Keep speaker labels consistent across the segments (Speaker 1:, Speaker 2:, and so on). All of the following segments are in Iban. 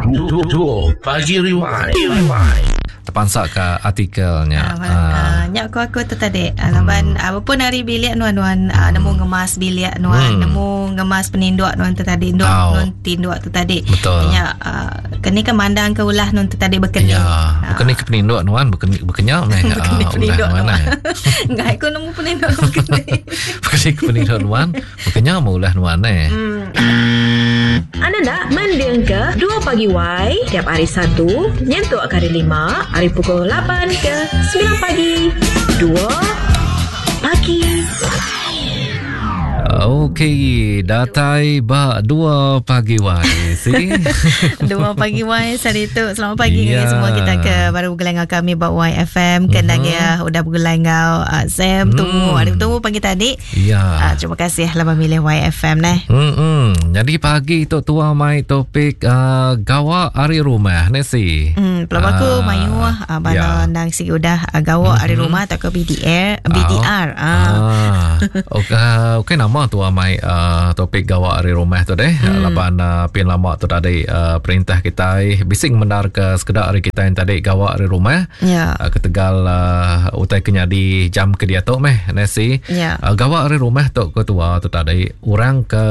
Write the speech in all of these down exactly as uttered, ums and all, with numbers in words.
Speaker 1: Dua Pagi Rewind. Rewind.
Speaker 2: Terpansak ke artikelnya.
Speaker 3: Ah, ah. Nyak aku aku tu tadi. Laban hmm. apapun hari bilik nuan nuan hmm. nemu ngemas bilik nuan, hmm. nemu ngemas peninduk nuan tu tadi, nuan oh. nuan tinduk tu tadi.
Speaker 2: Betul.
Speaker 3: Nyak uh, keni ke mandang ke ulah nuan tu tadi berkeni.
Speaker 2: Ya, berkeni ke peninduk nuan, berkeni berkenyak meh.
Speaker 3: Berkeni peninduk nuan. Enggak aku nemu peninduk berkeni.
Speaker 2: Berkeni ke peninduk nuan, berkenyak mau ulah nuan eh.
Speaker 3: Hmm.
Speaker 4: Anda nak mending ke dua pagi Y tiap hari Satu nyentuk ke hari Lima hari pukul lapan ke sembilan pagi. Dua pagi.
Speaker 2: Okey, datai ba dua pagi Y. Si.
Speaker 3: Dua pagi Y hari tu. Selamat pagi
Speaker 2: Ya.
Speaker 3: yeah. semua kita ke baru bergelai dengan kami ba Y F M. Kena mm-hmm. udah bergelai dengan uh, Sam mm. tunggu hari tunggu pagi tadi.
Speaker 2: Ya.
Speaker 3: Uh, terima kasih lah memilih Y F M neh.
Speaker 2: Hmm. Jadi pagi tu tua mai topik uh, gawak hari rumah ne si.
Speaker 3: Hmm, pelaba aku
Speaker 2: Ah,
Speaker 3: mayu uh, bala
Speaker 2: ya.
Speaker 3: nang si udah uh, gawak hari
Speaker 2: Mm-hmm.
Speaker 3: rumah atau ke B D R B D R.
Speaker 2: Ah.
Speaker 3: Ah.
Speaker 2: Okey, okey nama tua mai uh, topik gawak hari rumah tu deh. Hmm. Laban uh, pin lama tu tadi uh, perintah kita bising mendar ke sekedar hari kita yang tadi gawak hari rumah.
Speaker 3: Ya.
Speaker 2: Uh, ketegal uh, utai kenyadi jam ke dia tu meh nasi.
Speaker 3: Ya.
Speaker 2: Uh, gawak hari rumah tu ketua tu tadi orang ke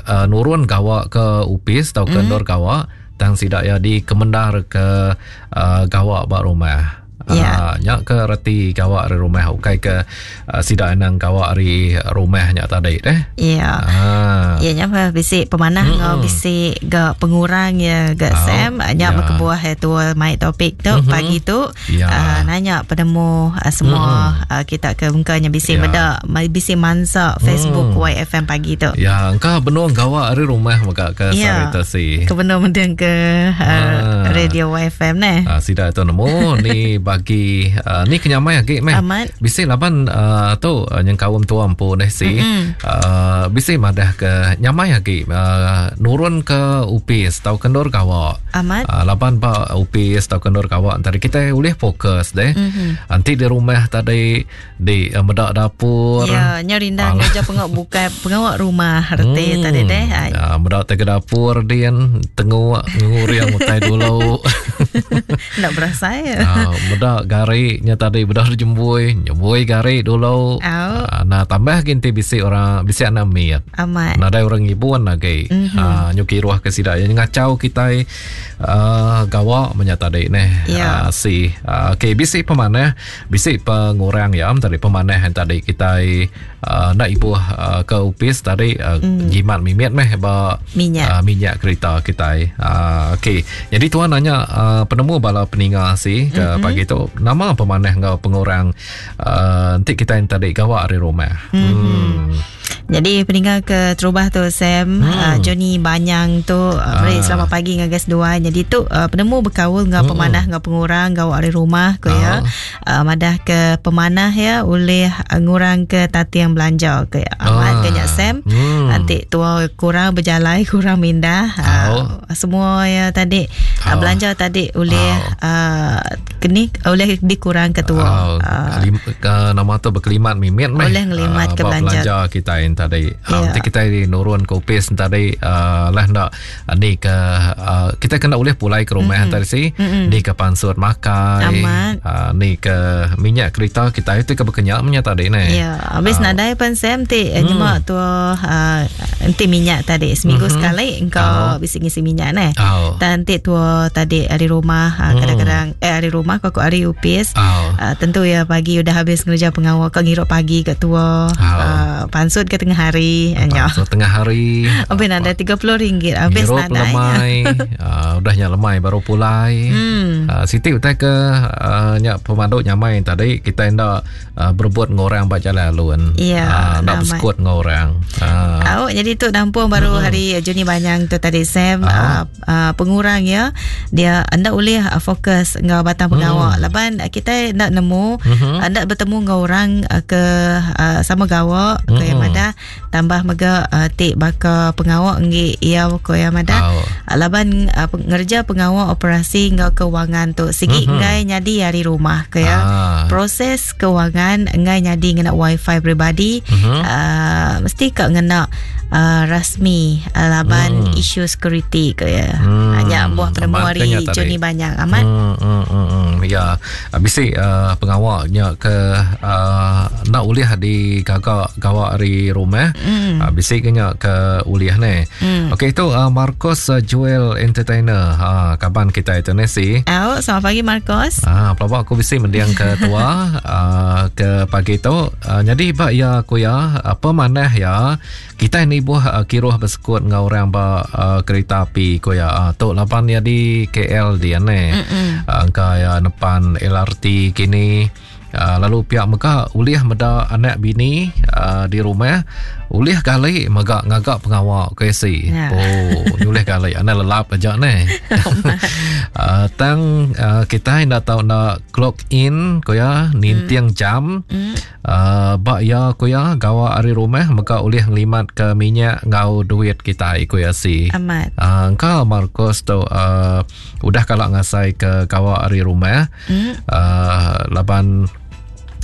Speaker 2: uh, nurun gawak ke upis atau ke mm. nur gawak tang sidak ya di kemendar ke uh, gawak bak rumah.
Speaker 3: Ya.
Speaker 2: Uh, nyak ke reti gawak dari rumah ukai ke uh, sidak nang gawak dari rumah nyak tadi deh.
Speaker 3: Ya.
Speaker 2: Ah.
Speaker 3: Ya nya bisi pemanah hmm. ngau bisi ga pengurang ya ga
Speaker 2: Oh,
Speaker 3: Sam nya
Speaker 2: ya.
Speaker 3: berkebuah ya tua mai topik tu
Speaker 2: Mhm.
Speaker 3: pagi tu
Speaker 2: Ya.
Speaker 3: uh, nanya penemu uh, semua mm. uh, kita ke mukanya bisi
Speaker 2: Ya.
Speaker 3: meda bisi mansa Facebook
Speaker 2: Mm.
Speaker 3: Y F M pagi tu.
Speaker 2: Ya, engkau benung gawak dari rumah maka ke
Speaker 3: Ya.
Speaker 2: Sarita si.
Speaker 3: Ke benar ke uh,
Speaker 2: Ah.
Speaker 3: radio Y F M neh.
Speaker 2: Ah, sidak tu nemu ni bagi uh, ni kenyamai lagi meh.
Speaker 3: Amat.
Speaker 2: Bisi laban uh, tu uh, yang kaum tua empu deh si.
Speaker 3: Mm-mm.
Speaker 2: Uh, bisi madah ke nyamai lagi uh, nurun ke upis tau kendur gawak.
Speaker 3: Amat.
Speaker 2: Uh, laban ba upis tau kendur gawak antara kita boleh fokus deh.
Speaker 3: Mhm.
Speaker 2: Nanti di rumah tadi di uh, medak dapur.
Speaker 3: Ya, nya rindang
Speaker 2: Alah.
Speaker 3: kerja pengok buka pengok rumah reti
Speaker 2: Hmm.
Speaker 3: tadi deh. Ah,
Speaker 2: Ya, medak te ke dapur dian tengok nguriang utai dulu.
Speaker 3: Nak berasa ya.
Speaker 2: Ah, bedak gariknya tadi bedak jembui, jembui garik dulu.
Speaker 3: Au.
Speaker 2: Ah, nah tambah ginti bisi orang bisi anak miat.
Speaker 3: Amat.
Speaker 2: Nadai orang ibuan lagi.
Speaker 3: Mhm.
Speaker 2: Ah, nyuki ruah ke sidak yang ngacau kita uh, gawak menya tadi neh.
Speaker 3: Ya.
Speaker 2: Ah, si ah, okey bisi pemanah, bisi pengurang ya tadi pemanah yang tadi kita uh, nak ibu uh, ke upis tadi uh,
Speaker 3: Mm.
Speaker 2: jimat mimit meh ba
Speaker 3: Minyak.
Speaker 2: uh, minyak kereta kita. Uh, okey. Jadi tuan nanya uh, penemu bala peninga si ke
Speaker 3: Mhm.
Speaker 2: mm-hmm. pagi tu nama pemanah ngau pengurang uh, nanti kita yang tadi gawak dari rumah.
Speaker 3: Mhm.
Speaker 2: Hmm.
Speaker 3: Jadi peninggal ke terubah tu Sam
Speaker 2: Hmm.
Speaker 3: uh, Johnny Banyang tu uh, beri
Speaker 2: Ah.
Speaker 3: selamat pagi dengan guys dua. Jadi tu uh, penemu berkaul dengan
Speaker 2: Hmm.
Speaker 3: pemanah dengan pengurang gawak dari rumah ko ya. Uh, madah ke pemanah ya oleh uh, ngurang ke tatiang belanja ke ya. Amat
Speaker 2: Ah.
Speaker 3: ke nyak Sam.
Speaker 2: Hmm.
Speaker 3: Nanti tua kurang berjalai kurang mindah uh,
Speaker 2: Oh.
Speaker 3: semua ya tadi uh,
Speaker 2: Oh.
Speaker 3: belanja tadi oleh uh, keni oleh dikurang ke tua.
Speaker 2: Oh,
Speaker 3: Uh,
Speaker 2: lim, ke, nama tu berkelimat mimit meh.
Speaker 3: Oleh ngelimat
Speaker 2: Ah,
Speaker 3: ke
Speaker 2: bab
Speaker 3: belanja.
Speaker 2: belanja kita yang tadi. Ah,
Speaker 3: Ya.
Speaker 2: nanti kita ni nurun ke upis tadi uh, lah nak ah, ni ke uh, kita kena boleh pulai ke rumah mm-hmm. tadi si.
Speaker 3: Mm-mm.
Speaker 2: Ni ke pansut makan.
Speaker 3: Amat.
Speaker 2: Uh, ni ke minyak kereta kita itu ke berkenyak punya tadi ni.
Speaker 3: Ya, habis
Speaker 2: Ah.
Speaker 3: nadai pan Sam ti hmm. nyemak tu uh, enti minyak tadi seminggu
Speaker 2: Mhm.
Speaker 3: sekali engkau
Speaker 2: Oh.
Speaker 3: bisi ngisi minyak neh.
Speaker 2: Oh.
Speaker 3: Dan ti tua tadi hari rumah uh,
Speaker 2: Hmm.
Speaker 3: kadang-kadang eh hari rumah kau hari upis.
Speaker 2: Oh.
Speaker 3: Uh, tentu ya pagi udah habis ngerja pengawal kau ngirup pagi ke tua
Speaker 2: Oh.
Speaker 3: uh, pansut ke tengah hari nya.
Speaker 2: Pansut tengah hari.
Speaker 3: Habis nada tiga puluh ringgit habis
Speaker 2: Ngirup
Speaker 3: nadai.
Speaker 2: lemai. uh, udahnya lemai baru pulai.
Speaker 3: Hmm.
Speaker 2: Uh, Siti utai ke uh, nyak pemandu nyamai tadi kita ndak uh, berebut dengan orang bak jalan alun.
Speaker 3: Ya,
Speaker 2: uh, ndak
Speaker 3: ramai.
Speaker 2: bersekut dengan orang. Uh,
Speaker 3: Awak jadi tu nampung baru hari Juni Banyang tu tadi Sam
Speaker 2: Ah.
Speaker 3: uh, uh, pengurang ya dia anda boleh uh, fokus ngau batang pengawak
Speaker 2: Hmm.
Speaker 3: laban uh, kita nak nemu
Speaker 2: Mhm.
Speaker 3: anda bertemu ngau orang uh, ke uh, sama gawak ke yang
Speaker 2: Mm-mm.
Speaker 3: madah tambah mega uh, tik baka pengawak ngi ia ko yang madah
Speaker 2: Oh.
Speaker 3: Laban uh, ngerja pengawa operasi ngau kewangan tu sigi mm-hmm. ngai nyadi hari rumah ke ya. Ah. Proses kewangan ngai nyadi ngena wifi peribadi mm-hmm. uh, mesti ka ngena uh, rasmi uh, laban mm. isu security ke ya. Mm. Hanya buah penemu hari Johnny banyak amat.
Speaker 2: Mm, mm, mm, mm. Ya, bisi uh, pengawaknya ke uh, nak ulih di gagak gawak hari rumah. Mm. Uh, bisi kenya ke ulih ni. Mm. Okey itu uh, Marcos uh, Joel Entertainer. Ha, kaban kita itu ni si.
Speaker 3: Oh, selamat pagi Marcos.
Speaker 2: Ah, pelabak aku bisi mendiang ke tua uh, ke pagi tu. Uh, jadi bak ya aku ya, apa manah ya kita ni buah uh, kiruh bersekut dengan orang ba uh, kereta api ku ya. Uh, tu lapan ya di K L dia ni. Uh, angka ya nepan L R T kini. Uh, lalu pihak mega ulih meda anak bini uh, di rumah ulih kali mega ngagak pengawak ke si. Ya. Oh, ulih kali anak lelap aja ni. uh, tang uh, kita ndak tahu nak clock in ko ya ninting mm. jam. Mm. Uh, bak ya ko ya gawa ari rumah mega ulih ngelimat ke minyak ngau duit kita ko ya si.
Speaker 3: Amat.
Speaker 2: Uh, engkau Marcos tu uh, udah kalau ngasai ke gawa ari rumah. Mm. Uh, laban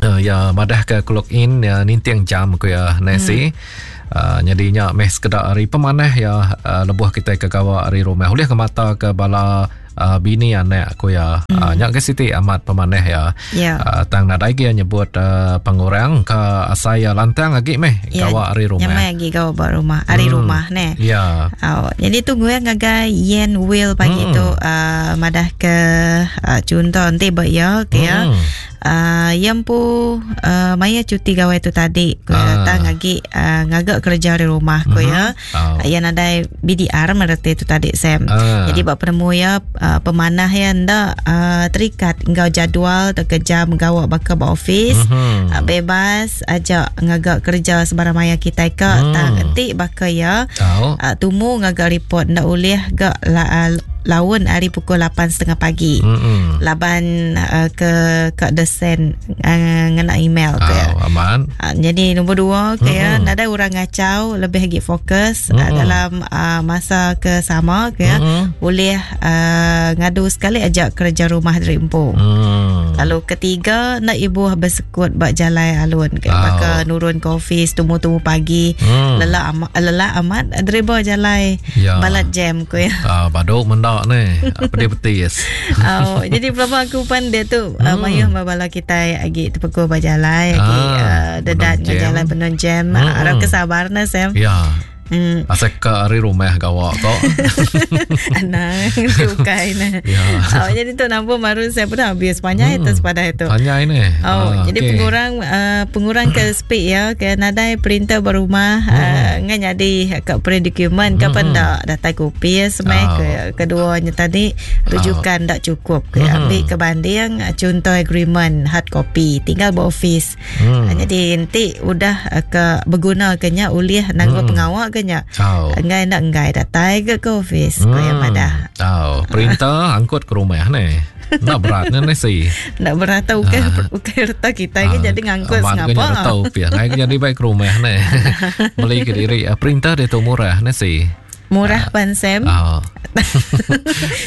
Speaker 2: Uh, ya madah ke clock in ya ninting jam ku ya nasi. Hmm. Uh, jadinya meh sekedar hari pemanah ya uh, lebuh kita ke gawa hari rumah ulih ke mata ke bala uh, bini anak ku ya. Hmm. Uh, nyak ke siti amat pemanah ya.
Speaker 3: Yeah.
Speaker 2: Uh, tang nadai ge nyebut uh, pengurang ke asai ya lantang lagi meh yeah, gawa hari rumah.
Speaker 3: Nyamai lagi gawa ba rumah hari hmm. rumah ne.
Speaker 2: Ya.
Speaker 3: Yeah. Oh, jadi tu gue ngagai Yen Will pagi hmm. tu uh, madah ke uh, contoh nanti ba ya ke ya. Hmm. Uh, yang pu uh, maya cuti gawai tu tadi ku ah. datang lagi uh, ngagak kerja di rumah ku ya.
Speaker 2: Oh.
Speaker 3: Yang ada B D R mereti tu tadi Sam.
Speaker 2: Ah.
Speaker 3: Jadi bab penemu ya uh, pemanah ya ndak uh, terikat ngau jadual atau jam gawak bakal ba office.
Speaker 2: Mm-hmm.
Speaker 3: Uh, bebas ajak ngagak kerja sebarang maya kita ke
Speaker 2: mm.
Speaker 3: tang entik bakal ya.
Speaker 2: Oh.
Speaker 3: Uh, tumu ngagak report ndak ulih gak la, uh, laun hari pukul lapan tiga puluh pagi.
Speaker 2: Mm-hmm.
Speaker 3: Laban uh, ke ke desen uh, ngena email ke.
Speaker 2: Oh, aman.
Speaker 3: Uh, jadi nombor dua ke
Speaker 2: mm-hmm.
Speaker 3: ya, nada orang ngacau lebih lagi fokus
Speaker 2: mm-hmm.
Speaker 3: uh, dalam uh, masa ke sama ke ya.
Speaker 2: Mm-hmm.
Speaker 3: Boleh uh, ngadu sekali ajak kerja rumah dari empu.
Speaker 2: Mm.
Speaker 3: Lalu ketiga nak ibu bersekut bak jalan alun ke
Speaker 2: Oh.
Speaker 3: maka nurun ke office tumu-tumu pagi.
Speaker 2: Mm.
Speaker 3: Lelak amat, lelak amat driver jalan
Speaker 2: ya.
Speaker 3: Balat jam ke ya.
Speaker 2: Ah, baduk mendak ni pedih-petis.
Speaker 3: Oh, jadi berapa aku pan dia tu
Speaker 2: hmm.
Speaker 3: uh, mayuh mabala kita agi terpekul berjalan agi
Speaker 2: ah,
Speaker 3: uh, dedat jalan penuh jam.
Speaker 2: Hmm.
Speaker 3: Harap kesabarna Sam.
Speaker 2: Ya.
Speaker 3: Hmm.
Speaker 2: Asal ke hari rumah gawak kok.
Speaker 3: Anak ukai nah.
Speaker 2: Ya.
Speaker 3: Oh, jadi tu nampak baru saya pun habis panjang
Speaker 2: hmm.
Speaker 3: itu sepada itu.
Speaker 2: Panjang ni.
Speaker 3: Oh,
Speaker 2: ah,
Speaker 3: jadi
Speaker 2: okay.
Speaker 3: pengurang uh, pengurang ke speed ya ke nadai printer berumah
Speaker 2: hmm.
Speaker 3: uh, ngan jadi ke print dokumen ke
Speaker 2: Hmm.
Speaker 3: pendak data kopi semai
Speaker 2: Oh.
Speaker 3: ke keduanya tadi rujukan
Speaker 2: Oh.
Speaker 3: tak cukup ke
Speaker 2: Hmm.
Speaker 3: ambil ke banding contoh agreement hard copy tinggal ba office.
Speaker 2: Hmm.
Speaker 3: Uh, jadi nanti udah uh, ke berguna kenya ulih nanggo
Speaker 2: Hmm.
Speaker 3: pengawak ke nya.
Speaker 2: Oh.
Speaker 3: Enggai nak enggai datai ke ke office hmm. Kau yang madah.
Speaker 2: Oh, perintah angkut ke rumah ni. Nak berat ni ni si.
Speaker 3: Nak berat tau ke ukai reta kita ke jadi ngangkut
Speaker 2: sengapa.
Speaker 3: Sengapa.
Speaker 2: Reta upiah. Ngai jadi baik ke rumah ni. Beli ke diri perintah dia tu murah ni si.
Speaker 3: Murah pan Sam.
Speaker 2: Oh.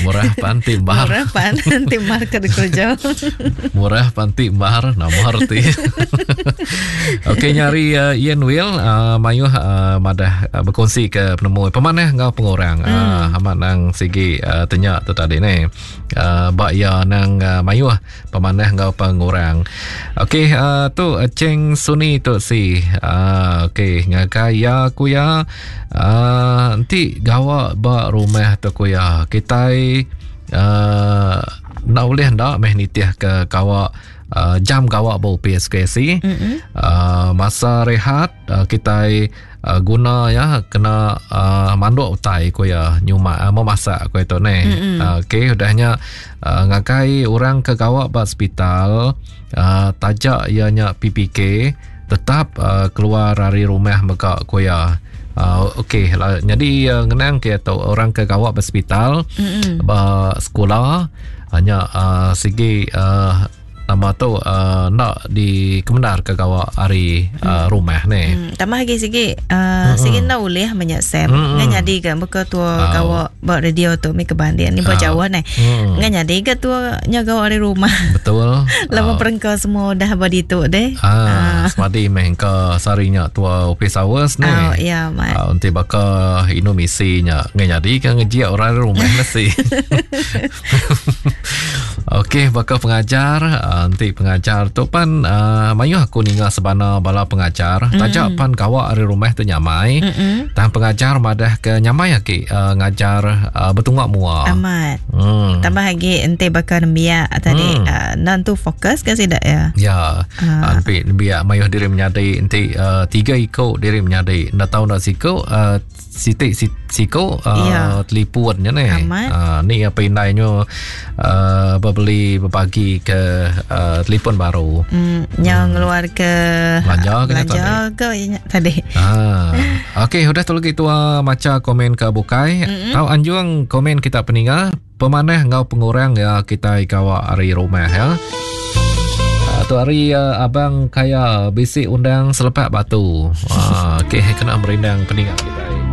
Speaker 2: Murah pan timbar.
Speaker 3: Murah pan timbar ke kerja.
Speaker 2: Murah pan timbar nama arti. Okey nyari uh, Ian Will uh, mayuh uh, madah uh, berkongsi ke penemu pemanah ngau pengorang.
Speaker 3: Hmm.
Speaker 2: Uh, amat nang sigi uh, tenyak tu tadi ni. Uh, bak ya nang uh, mayuh pemanah ngau pengorang. Okey uh, tu uh, Cheng Suni tu si. Uh, okey ngagai ya ku ya uh, nanti gawak ba rumah tu ku ya. Kita uh, nak boleh ndak meh nitih ke gawak uh, jam gawak ba P S K C.
Speaker 3: Mm-hmm.
Speaker 2: Uh, masa rehat uh, kita uh, guna ya kena uh, manduk utai ku ya nyuma uh, memasak ku itu ni.
Speaker 3: Mm-hmm.
Speaker 2: Uh, okey udahnya uh, ngakai orang ke gawak ba hospital uh, tajak ianya P P K tetap uh, keluar dari rumah mega ku ya. Uh, okey lah jadi uh, ngenang ke atau orang ke gawak hospital
Speaker 3: mm-hmm.
Speaker 2: ba sekolah hanya uh, segi uh, nama tu uh, nak di kebenar ke gawa hari uh, rumah ni.
Speaker 3: Hmm, tambah lagi sigi uh, sigi nak ulih banyak Sam.
Speaker 2: Mm-mm.
Speaker 3: Ngan jadi ke buka tua
Speaker 2: Oh.
Speaker 3: gawa buat radio tu mi kebanding ni buat
Speaker 2: Oh.
Speaker 3: jauh ni.
Speaker 2: Hmm.
Speaker 3: Ngan jadi ke tua nya gawa dari rumah.
Speaker 2: Betul.
Speaker 3: Lama
Speaker 2: Ah.
Speaker 3: perengka semua dah body tu deh.
Speaker 2: Ah, semadi meh ke sarinya tua office hours ni.
Speaker 3: Oh, ya, mat.
Speaker 2: Ah, nanti baka inu misinya. Ngan jadi ke ngejiak orang rumah mesti. Okey, baka pengajar, ah, nanti pengajar tu pan uh, mayuh aku ninga sebana bala pengajar. Mm. Tajak pan kawak dari rumah tu nyamai.
Speaker 3: Mm-mm.
Speaker 2: Tang pengajar madah ke nyamai aki uh, ngajar uh, bertungak mua.
Speaker 3: Amat.
Speaker 2: Hmm.
Speaker 3: Tambah lagi ente bakal nembiak tadi
Speaker 2: Hmm.
Speaker 3: uh, nan tu fokus ke tidak ya?
Speaker 2: Ya,
Speaker 3: Ah.
Speaker 2: uh. biar mayuh diri menyadi nanti uh, tiga ikut diri menyadi. Ndak tahu nak siko uh, sitik si, siko uh,
Speaker 3: Ya.
Speaker 2: telipun je ni.
Speaker 3: Amat.
Speaker 2: Uh, ni apa indainya uh, berbeli berbagi ke uh, telefon baru.
Speaker 3: Hmm, yang ngeluar ke
Speaker 2: Belanja ke
Speaker 3: belanja ke tadi.
Speaker 2: Ah, okey, udah tu lagi tua maca komen ke bukai. Mm-hmm. Tahu anjung komen kita peninga, pemanah ngau pengurang ya kita ikawak hari rumah ya. Ah, tu hari uh, abang kaya bisik undang selepak batu. Ah, okey, kena merindang peninga kita.